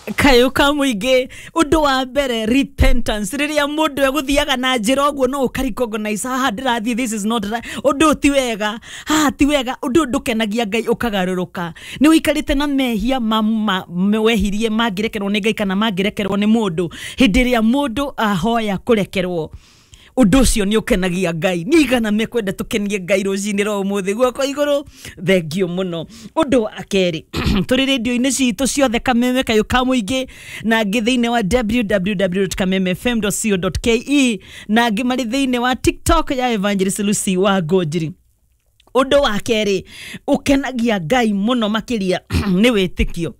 Kayũ ka mũingĩ, ũndũ wa mbere, repentance. Rĩrĩa mũndũ egũthiaga na njĩra ũguo, no ũkarecognize, haha ndĩrathiĩ, this is not right. Ũndũ ũyũ ti wega, haha ti wega, ũndũ ũyũ ndũkenagia Ngai, ũkagarũrũka. Nĩ ũikarĩte na mehia ma wehirie mangĩrekerwo nĩ Ngai kana mangĩrekerwo nĩ mũndũ. Hĩndĩ ĩrĩa mũndũ ahoya kũrekerwo, ũndũ ũcio nĩ ũkenagia Ngai. Nĩ igana mekwenda tũkenie Ngai rũcinĩ rwa ũmũthĩ? Guoko igũrũ. Thengio mũno. Ũndũ wa kerĩ, tũrĩ rĩndio-inĩ citũ ciothe, Kameme, Kayũ ka Mũingĩ, na angĩ thĩinĩ wa www.kamemefm.co.ke, na angĩ marĩ thĩinĩ wa TikTok ya Evangelist Lucy wa Ngũnjiri. Ũndũ wa kerĩ ũkenagia Ngai mũno makĩria nĩ wĩtĩkio.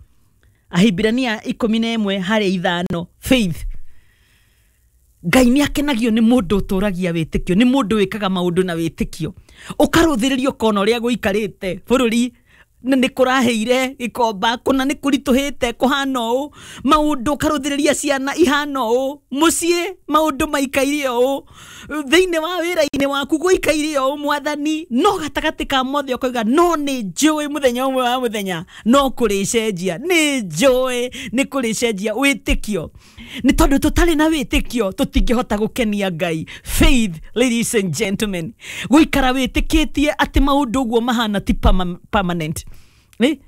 Ahibirania 11 harĩ 5, faith. Ngai nĩ akenagio nĩ mũndũ ũtũragia wĩtĩkio, nĩ mũndũ wĩkaga maũndũ na wĩtĩkio. Ũkarũthĩrĩria, ũkona ũrĩa gũikarĩte bũrũri na nĩ kũrahĩire gĩkomba, kũna nĩ kũritũhĩte, kũhana ũũ maũndũ, ũkarũthĩrĩria ciana ihana ũũ, mũciĩ maũndũ maikaire ũũ, thĩinĩ wa wĩra-inĩ waku gũikaire ũũ, Mwathani, no gatagatĩ ka mothe ũkoiga, no nĩ njũĩ mũthenya ũmwe wa mũthenya no kũrĩcenjia, nĩ njũĩ nĩ kũrĩcenjia. Wĩtĩkio, nĩ tondũ tũtarĩ na wĩtĩkio tũtingĩhota gũkenia Ngai. Faith, ladies and gentlemen, gũikara wĩtĩkĩtie atĩ maũndũ ũguo mahana ti permanent. Eh?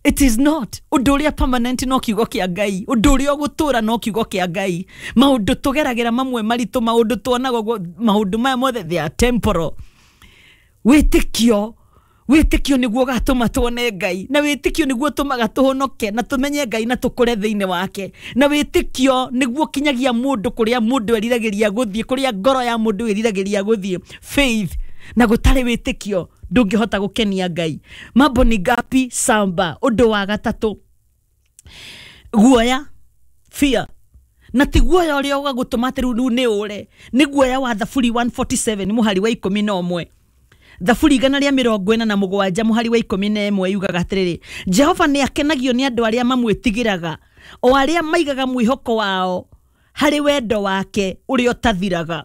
It is not. Ũndũ ũrĩa permanent no kiugo kĩa Ngai. Ũndũ ũrĩa ũgũtũra no kiugo kĩa Ngai. Maũndũ tũgeragĩra mamwe maritũ, maũndũ tuonaga ũguo, maũndũ maya mothe, they are temporal. Wĩtĩkio, wĩtĩkio nĩguo ũgatũma tuone Ngai, na wĩtĩkio nĩguo ũtũmaga tũhonoke na tũmenye Ngai na tũkũre thĩinĩ wake, na wĩtĩkio nĩguo ũkinyagia mũndũ kũrĩa mũndũ eriragĩria gũthiĩ, kũrĩa ngoro ya mũndũ ĩriragĩria gũthiĩ. Faith. Na gũtarĩ wĩtĩkio ndũngĩhota gũkenia Ngai. Mambo ni ngapi? Samba. Ũndũ wa gatatũ, guoya, fear. Na ti guoya ũrĩa ũgagũtũma atĩ rĩu nĩ ũre, nĩ guoya wa Thaburi 147 mũhari wa 11. Thaburi 147 mũhari wa 11 yugaga atĩrĩrĩ, "Jehova nĩ akenagio nĩ andũ arĩa mamwĩtigĩraga, o arĩa maigaga mwĩhoko wao harĩ wendo wake ũrĩa ũtathiraga."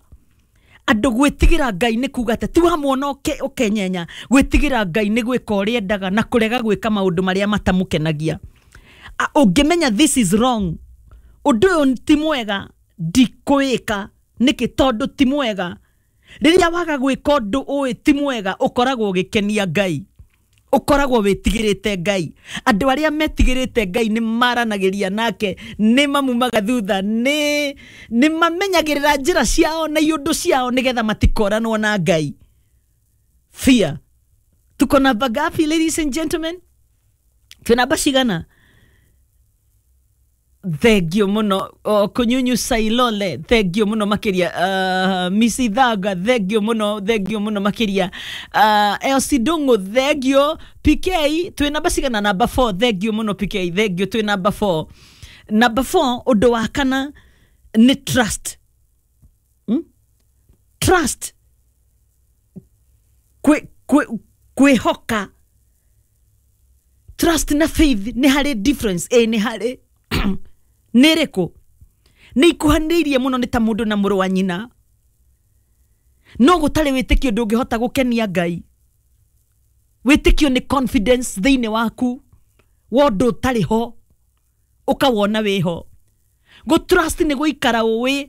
Andũ gwĩtigĩra Ngai nĩ kuga atĩ ti wamwona ũkenyenya. Gwĩtigĩra Ngai nĩ gwĩka ũrĩa endaga na kũrega gwĩka maũndũ marĩa matamũkenagia. Ũngĩmenya this is wrong, ũndũ ũyũ ti mwega, ndikwĩka. Nĩkĩ? Tondũ ti mwega. Rĩrĩa waga gwĩka ũndũ ũĩ ti mwega, ũkoragwo ũgĩkenia Ngai, ũkoragwo wĩtigĩrĩte Ngai. Andũ arĩa metigĩrĩte Ngai nĩ maranagĩria nake, nĩ mamumaga thutha, nĩ mamenyagĩrĩra njĩra ciao na iũndũ ciao nĩgetha matikoranwo na Ngai. Fear. Tuko namba ngapi, ladies and gentlemen? Twĩ namba cigana? Thengio muno. O, Kunyunyu Sailole, thengio muno makiria. Miss Ithaga, thengio muno, thengio muno makiria. Elsie Dungu, thengio. PK, twĩ namba cigana? Namba 4. Thengio muno, PK, thengio. Twĩ namba 4, namba 4. Ũndũ wa kana nĩ trust. Trust, kwĩhoka. Trust na faith nĩ harĩ difference? Ĩ, nĩ harĩ. Nĩ ĩrĩkũ? Nĩ ikuhanĩrĩirie mũno, nĩ ta mũndũ na mũrũ wa nyina. No gũtarĩ wĩtĩkio ndũngĩhota gũkenia Ngai. Wĩtĩkio nĩ confidence thĩinĩ waku wa ũndũ ũtarĩ ho ũkawona wĩho. Gũ trust nĩ gũikara ũĩ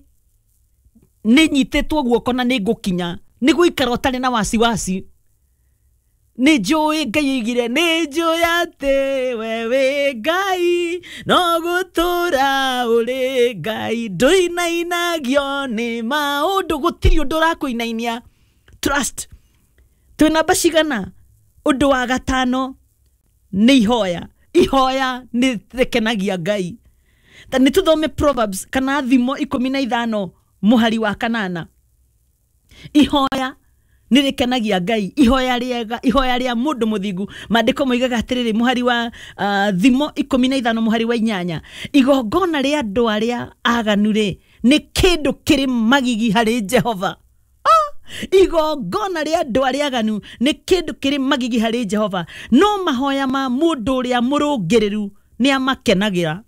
nĩ nyitĩtwo guoko na nĩ ngũkinya, nĩ gũikara ũtarĩ na wasiwasi. Nĩ njũĩ Ngai oigire, nĩ njũĩ atĩ we wĩ Ngai, no gũtũra ũrĩ Ngai, ndũinainagio nĩ maũndũ, gũtirĩ ũndũ ũrakũinainia. Trust. Twĩ namba cigana? Ũndũ wa gatano nĩ ihoya. Ihoya nĩ rĩkenagia Ngai. Ta nĩ tũthome Proverbs kana Thimo 15 mũhari wa 8. Ihoya nĩ rĩkenagia Ngai, ihoya rĩega, ihoya rĩa mũndũ mũthingu. Maandĩko moigaga atĩrĩrĩ, mũhari wa Thimo 15 mũhari wa 8, "Igongona rĩa andũ arĩa aganu rĩ, nĩ kĩndũ kĩrĩ magigi harĩ Jehova." Ah! Igongona rĩa andũ arĩa aganu nĩ kĩndũ kĩrĩ magigi harĩ Jehova, no mahoya ma mũndũ ũrĩa mũrũngĩrĩru nĩ amakenagĩra.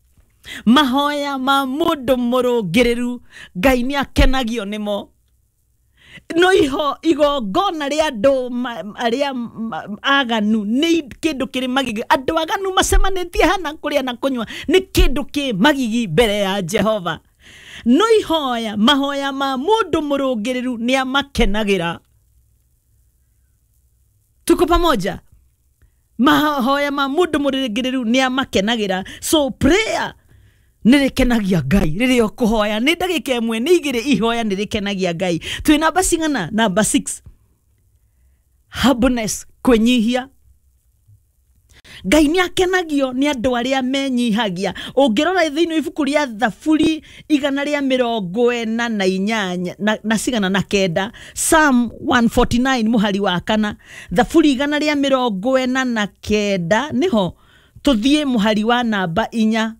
Mahoya ma mũndũ mũrũngĩrĩru, Ngai nĩ akenagio nĩmo. No iho igongona rĩa andũ arĩa aganu nĩ kĩndũ kĩrĩ magigi. Andũ aganu macemanĩtie hana kũrĩa na kũnyua nĩ kĩndũ kĩ magigi mbere ya Jehova. No ihoya mahoya ma mũndũ mũrũngĩrĩru nĩ amakenagĩra. Tuko pamoja? Mahoya ma mũndũ mũrũngĩrĩru nĩ amakenagĩra. So prayer nĩ rĩkenagia Ngai. Rĩrĩa ũkũhoya nĩ ndagĩka ĩmwe nĩ igĩrĩ, ihoya nĩ rĩkenagia Ngai. Twĩ namba cigana? Namba 6, humbleness, kwĩnyihia. Ngai nĩ akenagio nĩ andũ arĩa menyihagia. Ũngĩrora thĩinĩ wa ibuku rĩa Thaburi 148 na cigana na kenda, Psalm 149 mũhari wa 4, Thaburi 149 nĩho tũthiĩ mũhari wa namba 4.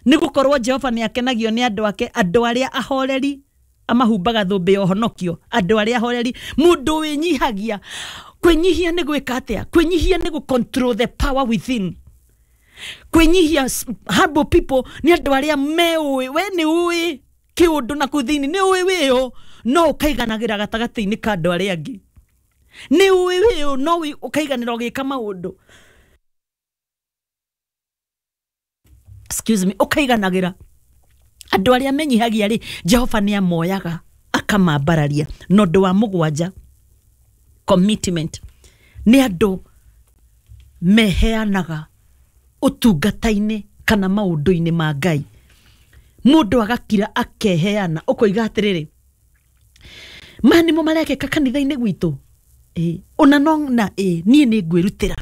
Nĩ gũkorwo Jehova nĩ akenagio nĩ andũ ake, andũ arĩa ahoreri amahumbaga thũmbĩ ya ũhonokio. Andũ arĩa ahoreri, mũndũ wĩnyihagia. Kwĩnyihia nĩ gwĩka atĩa? Kwĩnyihia nĩ gũ control the power within. Kwĩnyihia, humble people nĩ andũ arĩa meũĩ, we nĩ ũĩ kĩũndũ na kũu thĩinĩ, nĩ ũĩ wĩũ, no ũkaiganagĩra gatagatĩ-inĩ ka andũ arĩa angĩ. Nĩ ũĩ wĩũ, no ũkaiganĩra ũgĩka maũndũ. Excuse me, ũkaiganagĩra. Andũ arĩa menyihagia rĩ, Jehova nĩ amoyaga akamambararia. Na ũndũ wa mũgwanja, commitment, nĩ andũ meheanaga ũtungata-inĩ kana maũndũ-inĩ ma Ngai. Mũndũ agakira akeheana, ũkoiga atĩrĩrĩ, maya nĩmo marekĩka kanitha-inĩ gwitũ, ona no na niĩ nĩ ngwĩrutĩra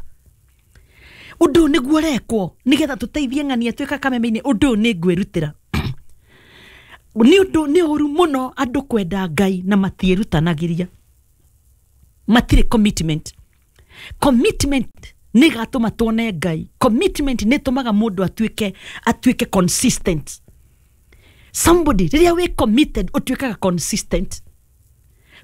ũndũ ũyũ nĩguo ũrekwo nĩgetha tũteithie ng'ania twĩka kameme-inĩ, ũndũ ũyũ nĩ ngwĩrutĩra. Nĩ ũndũ nĩ ũru mũno andũ kwenda Ngai na matiĩrutanagĩria, matirĩ commitment. Commitment nĩ ĩgatũma tuone Ngai. Commitment nĩ ĩtũmaga mũndũ atuĩke consistent. Somebody rĩrĩa wĩ committed ũtuĩkaga consistent.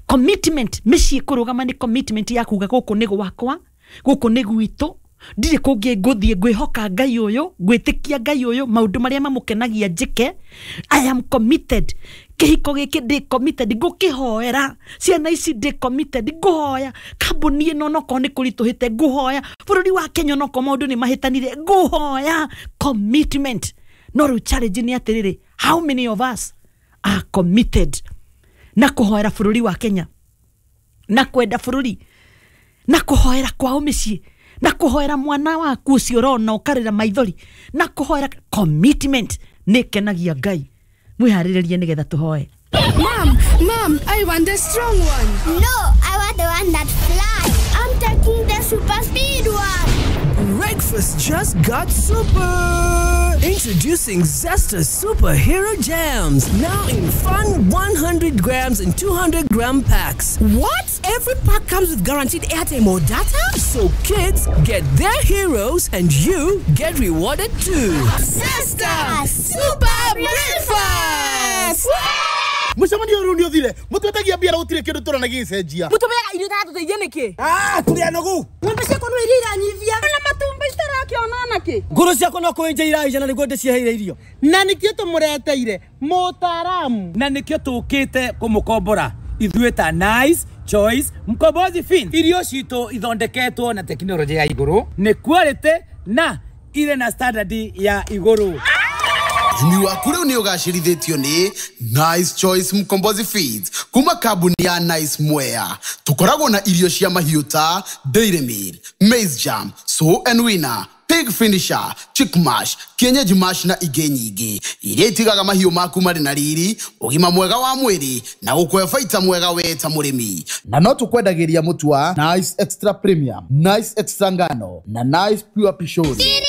Commitment mĩciĩ kũrũgama nĩ commitment ya kuga gũkũ nĩ gwakwa, gũkũ nĩ gwitũ, ndirĩ kũngĩ ngũthiĩ, ngwĩhoka Ngai ũyũ, ngwĩtĩkia Ngai ũyũ, maũndũ marĩa mamũkenagia njĩke. I am committed. Kĩhiko gĩkĩ ndĩ committed, ngũkĩhoera ciana ici ndĩ committed, ngũhoya kambuni ĩno onokorwo nĩ kũritũhĩte, ngũhoya bũrũri wa Kenya onokorwo maũndũ nĩ mahĩtanire, ngũhoya. Commitment. No rĩu challenge nĩ atĩrĩrĩ, how many of us are committed na kũhoera bũrũri wa Kenya, na kwenda bũrũri, na kũhoera kwao mĩciĩ, na kũhoera mwana waku ũcio ũrona ũkarĩra maithori, na kũhoera. Commitment nĩ ĩkenagia Ngai. Mwĩharĩrĩrie nĩgetha tũhoe. Mom, Mom, I want the strong one. No, I want the one that flies. I'm taking the super speed one. Breakfast just got super! Introducing Zesta Superhero Jams, now in fun 100 grams and 200 gram packs. What? Every pack comes with guaranteed airtime or data? So kids get their heroes and you get rewarded too. Zesta Super Breakfast! Mũcemanio ũyũ nĩ ũthire, mũtwetagia mbia na gũtirĩ kĩndũ tũrona gĩgĩcenjia. Mũtũmeaga irio itatũteithia nĩkĩ? Tũrĩ anogu. Ng'ombe ciakwa no iria iranyivia. Na matumbĩ itarakĩona nakĩ? Ngũrũ ciakwa no kũenja iraija na nĩguo ndĩciheire irio. Na nĩkĩo tũmũreteire mũtaaramu. Na nĩkĩo tũkĩte kũmũkombora ithuĩ ta Nice Choice Mkombozi Fin. Irio citũ ithondeketwo na tekinoronjĩ ya igũrũ, nĩ quality na irĩ na standard ya igũrũ. Ũrĩmi waku rĩu nĩ ũgacĩrithĩtio nĩ Nice Choice Mkombozi Feeds kuma kambuni ya Nice Mwea. Tũkoragwo na irio cia mahiũ ta Dairy Meal, Maize Jam, Sow and Winner, Pig Finisher, Chick Mash, Kienyeji Mash na ingĩ nyingĩ iria itigaga mahiũ maku marĩ na riri, ũgima mwega wa mwĩrĩ na gũkũhe baita mwega we ta mũrĩmi. Na no tũkwendagĩria mũtu wa Nice Extra Premium, Nice Extra Ngano na Nice Pure Pishori.